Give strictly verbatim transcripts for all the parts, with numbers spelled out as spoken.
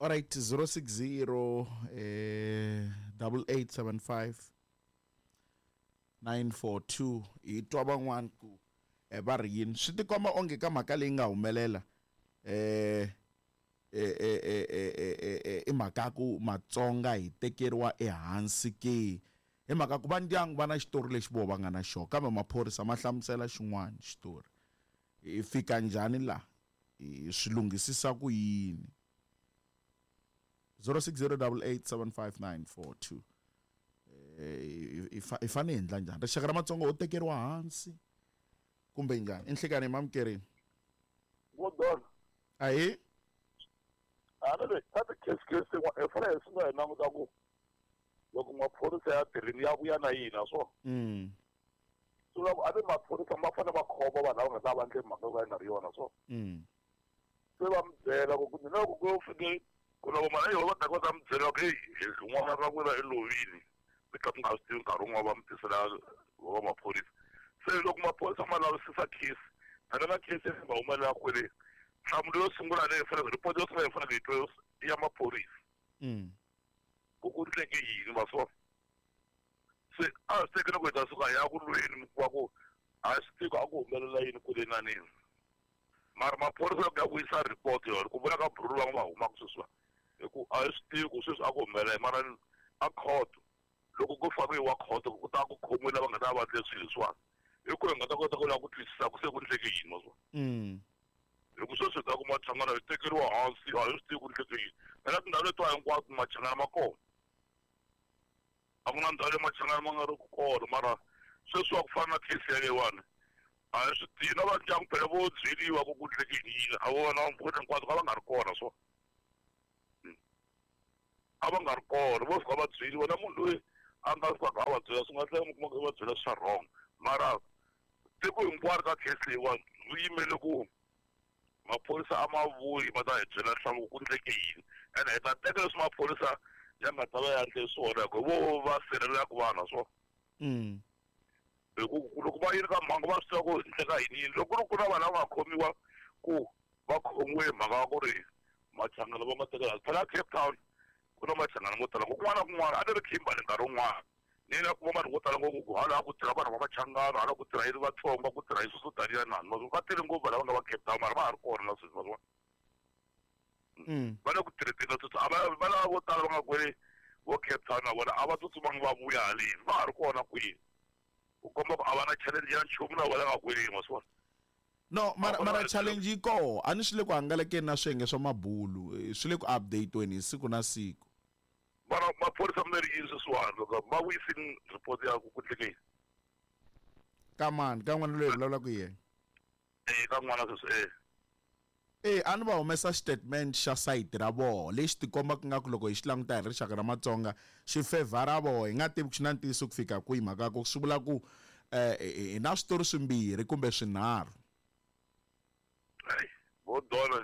All right, zero six zero eh double eight seven five nine four two. Hi twa van'wana ku eh, va ri yini swi tikomba onge ka mhaka leyi nga humelela eh eh eh eh eh eh, eh, i mhaka ku Matsonga hi tekeriwa ehansi ke hi mhaka ku va ndyangu va na xitori lexi vo va nga na xona kambe maphorisa ma hlamusela xin'wana xitori hi fika njhani la hi swi lunghisisa ku yini zero six zero double eight seven five nine four two eh hi fanele hi endla njhani rixaka ra Matsonga u tekeriwa hansi kumbe njhani i nhlikani hi mamukerini Godona ahi a ni ka ti-case case tin'wana hi fanele hi sungula hi languta ku loko maphorisa ya tirhini ya vuya na yini a swona mm swi vula ku a ni maphorisa ma fanele va khoma vanhu lava nga ta va endle mhaka yo ka yi nga ri yona swona mm se va mi byela ku kumbe na loko ku fike ku loko mara yo va ta kota mi byela ku heyi n'wana ra n'wina i lovile mi kha mi nga swi tivi nkarhi wun'wana va mi tisela va maphorisa se loko maphorisa ma lavisisa case phela na case yi nga humelela kwele nhlamulo yo sungula leyi fanele report yo sungula yi fanele yi twa ya maphorisa mm ku ku ndleke yini va swona se a swi teki loko hi ta suka hi ya ku lweni mi kuma ku a swi tivi a ku humelela yini kwele na nini mara maphorisa loko ya vuyisa report yona ku vula ka burulu van'we va humaka sweswiwa hi ku a hi swi tivi ku sweswi a ku humelela mara a khoto loko ku fakiwa khoto ku ta ku khomiwe lava nga ta va endle swilo leswiwani hi ku hi nga ta kota ku lava ku twisisa ku se ku ndleke yini ma swona mm hi ku sweswi hi ta ku machangana hi tekeriwa hansi a hi swi tivi ku ndleke yini phela tindhawu letiwa hinkwato machangana ma kona a ku na ndhawu leyi machangana ma nga ri ku kona mara sweswiwa ku fana na case yaleyiwani a hi swi tivi na va ndyangu phela vo byeriwa ku ku ndleke yini a vo na vumbhoni hinkwaswo ka va nga ri kona swona a va nga ri kona vo fika va byeriwa na munhu loyi a nga fika a va byela swi nga tlhela mi kuma ku va byela swa wrong mara tiko hinkwaro ka case leyiwani ri yimele ku maphorisa a ma vuyi ma ta hi byela nhlamulo ku ndleke yini ene hi ta teka leswi maphorisa ya nga ta va ya endle swona hi ku vo va sirhelelaka vanhu swona mm hi ku loko va yini ka mhangu va swi tiva ku ndleka yini yini loko ku ri ku na vanhu lava nga khomiwa ku va khomiwe hi mhaka ya ku ri machangana va ma tekela phela Cape Town ku na machangana mo tala kun'wana na kun'wana a ni ri Kimberley nkarhi wun'wana ni la kuma vanhu vo tala ngopfu ku hala ku tirha vanhu va machangana hala ku tirha yi Vatsonga ku tirha yi sweswo taniya nani va tele ngopfu vanhu lava nga va Cape Town mara va ha ri kona na sweswi ma swi vona mm va le ku tirhiseni sweswi a va va lava vo tala va nga kwele vo Cape Town na vona a va tsutsumangi va vuya haleni va ha ri kona kwini ku komba ku a va na challenge ya nchumu na vona nga kweleni ma swi vona no mara A ku na mara ri- challenge yi koho a ni swi le ku hangalakeni na swiyenge swa mabulu eh, swi le ku update-weni hi siku na siku mara maphorisa mi ri yini sweswiwani loko ma vuyisini report ya ku ku ndleke yini ka mani ka n'wana loyi hi vulavulaka hi yena eh ka n'wana sweswi eh Eh a ni va humesa statement xa sayiti ra voho lexi tikombaka nga ku loko hi xi languta hi rixaka ra Matsonga xi fevhara voho hi nga tivi ku xi na ntiyiso ku fika kwihi mhaka ku swi vula ku eh hi na switori swimbirhi kumbe swinharhu hayi vo dona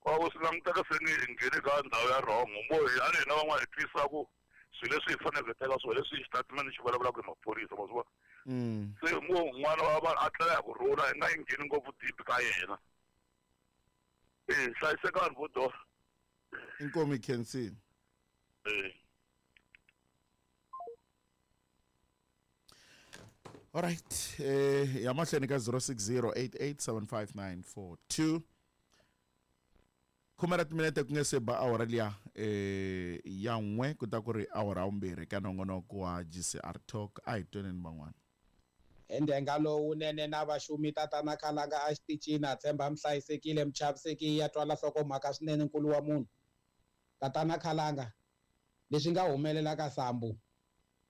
wa ku swi languteka se ni hi nghene ka ndhawu ya wrong mo hi a ni hina van'wana hi twisisa ku swilo leswi hi faneleke hi teka swona leswi xitatimende xi vulavulaka hi maphorisa ma swi vona mm se mo n'wana wa vanhu a tlela hi ku rhula hi nga yi ngheni ngopfu deep ka yena eh hlayisekani vo dona inkomu hi khensile eh Alright, eh ya mahlweni ka zero six zero eight eight seven five nine four two. Khume ra timinete ku nge se ba awara liya eh ya n'we ku ta ku ri awara ya vumbirhi ka nongonoko wa G C R Talk a hi tweneni van'wana. Ndenga lowunene na vaxumi tatana Khalanga a xitichini a tshemba mi hlayisekile mi chaviseki ya twala nhlokomhaka swinene nkulu wa munhu. Tatana Khalanga leswi nga humelela ka Sambu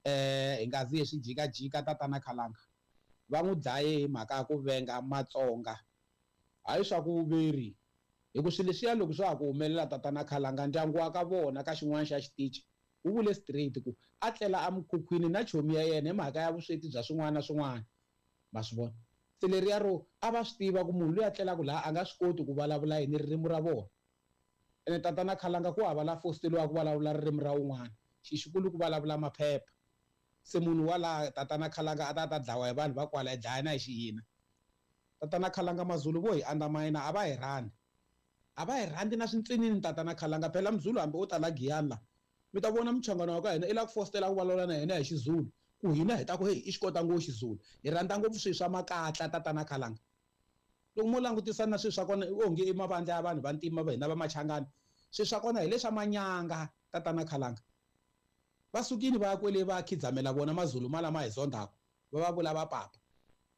eh hi nga zi hi swi jikajika tatana Khalanga va n'wi dlaye hi mhaka ya ku venga Matsonga hayi swa ku veri hi ku swilo leswiya loko swa ha ku humelela tatana Khalanga ndyangu wa ka vona ka xin'wana xa xitichi wu vule straight ku a tlela emikhukhwini na chomi ya yena hi mhaka ya vusweti bya swin'wana na swin'wana ma swi vona se leriya ro a va swi tiva ku munhu loyi a tlelaka laha a nga swi koti ku vulavula yini ririmi ra vona ene tatana Khalanga ku hava la fosteriwaka ku vulavula ririmi ra wun'wana xixikulu ku vulavula maphepha se munhu wa laha tatana Khalanga a ta ta dlawa hi vanhu va kwala hi dlaya na hi xihina tatana Khalanga Mazulu vo hi andamayina a va hi rhandi A va hi rhandzi na swintsinini tatana Khalanga phela Mzulu hambi wo tala Giyani la. Mi ta vona muchangana wa ka hina i lava ku fositela ku vulavula na hina hi Xizulu. Ku hina hi ta ku hey i xi kota ngopfu Xizulu. Hi rhandza ngopfu swilo swa makatla tatana Khalanga. Loko mo langutisa na swilo swa kona onge i mavandla ya vanhu va ntima va hina va machangani. Swilo swa kona hi leswa manyanga tatana Khalanga. Va sukile va ya kwele va khidzamela vona Mazulu ma lama hi zondaka. Va va vula va papa.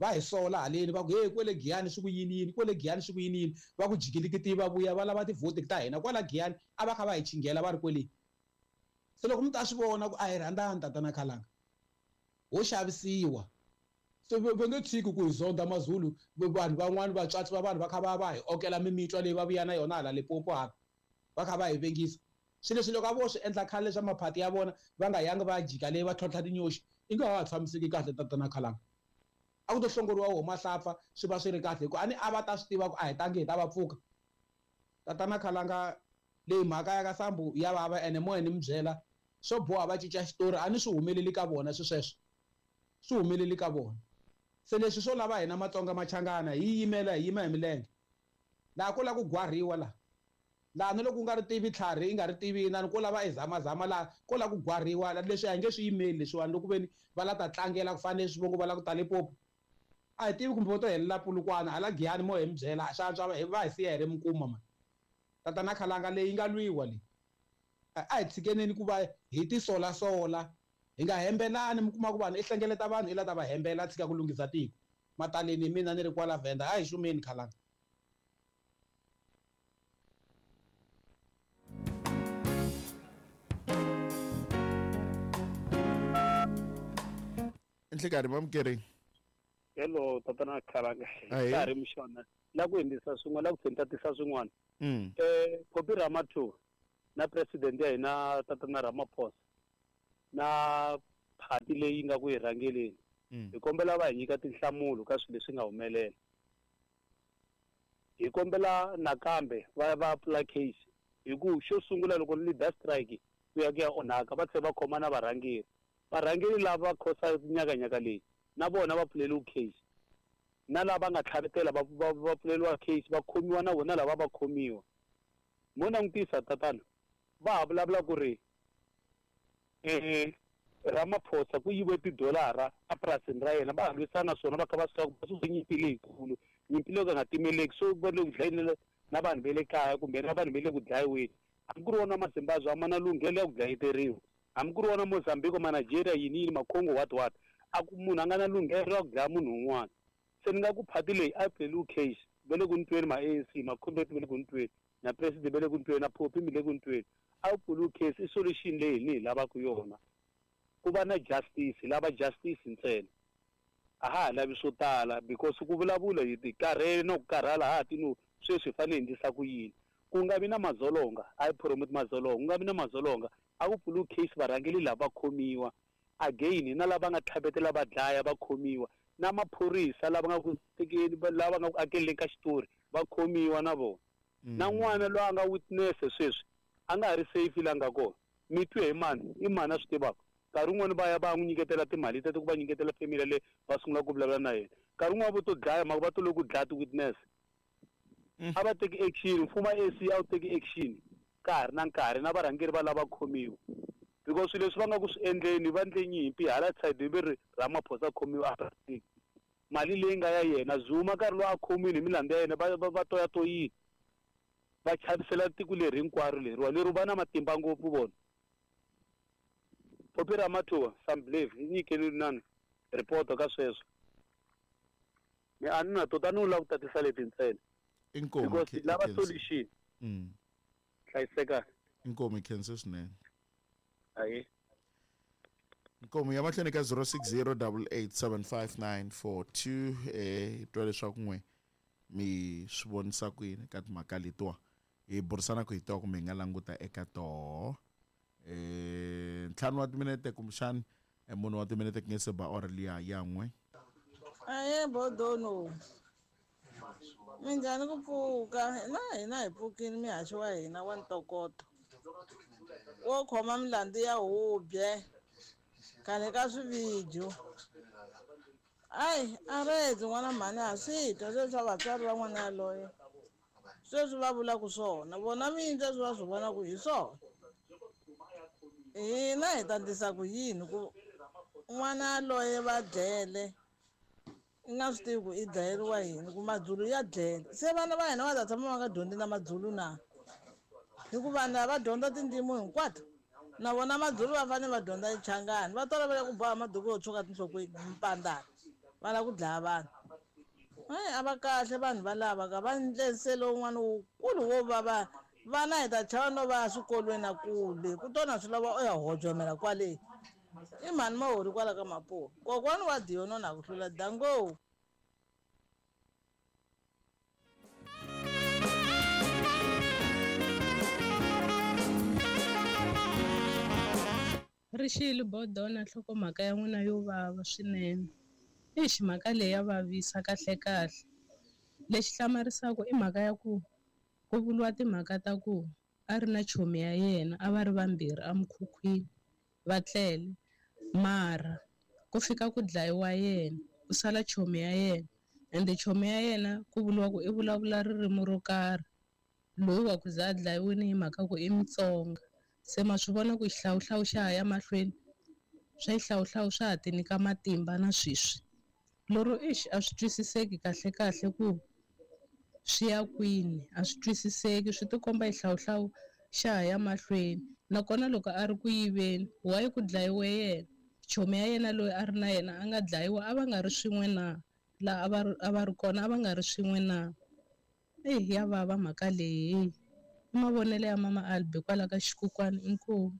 Va hi sola haleni va ku hey kwele Giyani swi ku yini yini kwele Giyani swi ku yini yini va ku jikilikiti va vuya va lava tivhoti ta hina kwala Giyani a va kha va hi chinghela va ri kwele. Se loko mi ta swi vona ku a hi rhandzani tatana Khalanga. Ho xavisiwa. Se va nge tshiki ku hi zonda Mazulu vanhu van'wani vatswatsi va vanhu va kha va va hi okela mimitwa leyi va vuya na yona hala Limpopo hala. Va kha va hi vengisa. Swilo leswi loko a vo swi endla khale swa maphati ya vona va nga yangi va jika leyi va tlhontlha tinyoxi i nga ha tshamiseki kahle tatana Khalanga. A ku to hlongoriwa wo mahlapfa swi va swi ri kahle hikuva a ni a va ta swi tiva ku a hi tangi hi ta va pfuka. Tatana Khalanga leyi mhaka ya ka Sambu ya vava ene moya ni mi byela swo boha va cinca xitori a ni swi humeleli ka vona swi sweswo. Swi humeleli ka vona. Se leswi swo lava hina Matsonga Machangana hi yimela hi yima hi milenge. Laha ko lava ku gwarhiwa laha. Laha ni loko u nga ri tivi tlhari i nga ri tivi inani ko lava i zamazama laha ko lava ku gwarhiwa leswi a hi nge swi yimeli leswiwani loko ve ni va la ta tlangela ku fana leswi vo ngo va lava ku ta Limpopo. A hi tivi kumbe vo to helela Polokwane hala Giyani mo hi mi byela swa antswa va hi siya hi ri Mukuma mani. Tatana Khalanga leyi yi nga lwiwa leyi. A hi tshikeneni ku va hi ti solasola hi nga hembelani mi kuma ku vanhu i hlengeleta vanhu i la ta va hembela a tshika ku lunghisa tiko. Mataleni mina ni ri kwala Venda a hi xumeni Khalanga. Nhlikani mamukeri. Hello tatana Khalanga. Nkarhi mixona. La ku hindzisa swin'wana la ku thintatisa swin'wana. Eh Phophi Ramathuba na president ya hina tatana Ramaphosa na phati leyi nga ku hi rhangeleni. Hi kombela va hi nyika tinhlamulo ka swilo leswi nga humelela. Hi kombela nakambe va va pfula case hi ku xo sungula loko leader strike ku ya ku ya onhaka va tlhela va khoma na varhangeri. Varhangeri lava khosa nyakanyaka leyi na vona va pfuleliwa case. Na lava nga tlhavetela va va pfuleliwa case va khomiwa na vona lava va khomiwa. Mo langutisa tatana va ha vulavula ku ri eh Ramaphosa ku yive tidolara epurasini ra yena va ha lwisana swona va kha va swi va swi nyimpi leyikulu nyimpi leyo ka nga timeleki so va le ku dlayeni na vanhu va le kaya kumbe na vanhu va le ku dlayiweni. Hambi ku ri wona Mazimbabwe a ma na lunghelo ya ku dlayeteriwa. Hambi ku ri wona Mozambique ma Nigeria yini yini Macongo what what a ku munhu a nga na lunghelo ra ku dlaya munhu un'wana. Se ni nga ku phati leyi a yi pfuleliwi case va le ku ni tweni ma A N C ma-comrade va le ku ni tweni na president va le ku ni tweni na Phophi mi le ku ni tweni. A yi pfuriwi case i solution leyi ni hi lavaka yona. Ku va na justice lava justice ntsena. A ha ha lavi swo tala because ku vulavula hi ti karhele na ku karhala ha ti no sweswi hi fanele hi endlisa ku yini. Ku nga vi na madzolonga a yi promote madzolonga ku nga vi na madzolonga a ku pfuriwi case varhangeri lava va khomiwa. Again na lava nga tlhavetela va dlaya va khomiwa na maphorisa lava nga ku tekeni lava nga ku akeleni ka xitori va khomiwa na vona. Na n'wana loyi a nga witness sweswi a nga ha ri safe la nga kona. Mi twe hi mani i mani a swi tivaka. Nkarhi wun'wani va ya va n'wi nyiketela timali teto ku va nyiketela family leyi va sungula ku vulavula na yena. Nkarhi wun'wani vo to dlaya mhaka va to le ku dlaya ti-witness. A va teki action mfumo wa A C a wu teki action ka ha ri na nkarhi na varhangeri va lava khomiwa. Because swilo leswi va nga ku swi endleni va endle nyimpi hala side va ri Ramaphosa khomiwa a mali leyi nga ya yena Zuma nkarhi lowu a khomiwile hi milandzu ya yena va va toyatoyile. Va chavisela tiko leri hinkwaro leriwa lero va na matimba ngopfu vona. Phophi Ramathuba some believe yi nyikele nani report ka sweswo. Mi a ni na to tani u lava ku tatisa leti ntsena. Inkomu because lava solution. Mm. Hlayiseka. Inkomu khensa swinene. Ayi. Inkomu ya mahlweni ka zero six zero eight eight seven five nine four two eh twa leswaku n'we mi swi vonisa ku yini ka timhaka letiwa hi burisana ku hi twa kumbe hi nga languta eka toho. Eh ntlhanu wa timinete kumbexani munhu wa timinete ku nge se ba ora liya ya n'we. Aye bodono. Minjhani ku pfuka na hina hi pfukile mihaxo wa hina wa ntokoto wo khoma milandzu ya hubye khale ka swivhijo. Ayi a redzi n'wana mhani ha swi twa sweswi swa vatswari va n'wana yaloye. Sweswi va vulaka swona vona vinyi sweswi va swi vona ku hi swona. Hina hi ta ndlisa ku yini ku n'wana loye va dlele i nga swi tivi ku i dlayeriwa yini ku Mazulu ya dlele. Se vana va hina va ta tshama va nga dyondzi na Mazulu na? Hikuva vanhu lava va dyondza tindzimi hinkwato na vona Mazulu va fanele va dyondza Xichangani, va tolovele ku boha maduku yo tshuka tinhlokweni mpandana va lava ku dlaya vanhu. Hayi a va kahle vanhu valava ka va ndlesele wun'wana wukulu wo vava vana hi ta chava no va ya swikolweni a kule ku tona swi lava u ya hojomela kwale. I mhani Mahori kwala ka Mapuwa kokwani wa Diyono na ku hlula dango. Rixile Bodona nhlokomhaka ya n'wina yo vava swinene. Exi mhaka leyi ya vavisa kahle kahle. Lexi hlamarisaka i mhaka ya ku ku vuriwa timhaka ta ku a ri na chomi ya yena a va ri vambirhi emikhukhwini va tlele mara ku fika ku dlayiwa yena ku sala chomi ya yena ende chomi ya yena ku vuriwa ku i vulavula ririmi ro karhi loyi wa ku za a dlayiwile hi mhaka ku i Mutsonga. Se ma swi vona ku xihlawuhlawu xa ha ya mahlweni swa xihlawuhlawu swa ha ti nyika matimba na sweswi. Lero exi a swi twisiseki kahle kahle ku swi ya kwini, a swi twisiseki swi tikomba xihlawuhlawu xa ha ya mahlweni. Nakona loko a ri ku yiveni why ku dlayiwe yena chomi ya yena loyi a ri na yena a nga dlayiwa a va nga ri swin'we na laha a va ri a va ri kona a va nga ri swin'we na. Eyi ya vava mhaka leyi. I mavonelo ya mama Albi kwala ka Xikukwani inkomu.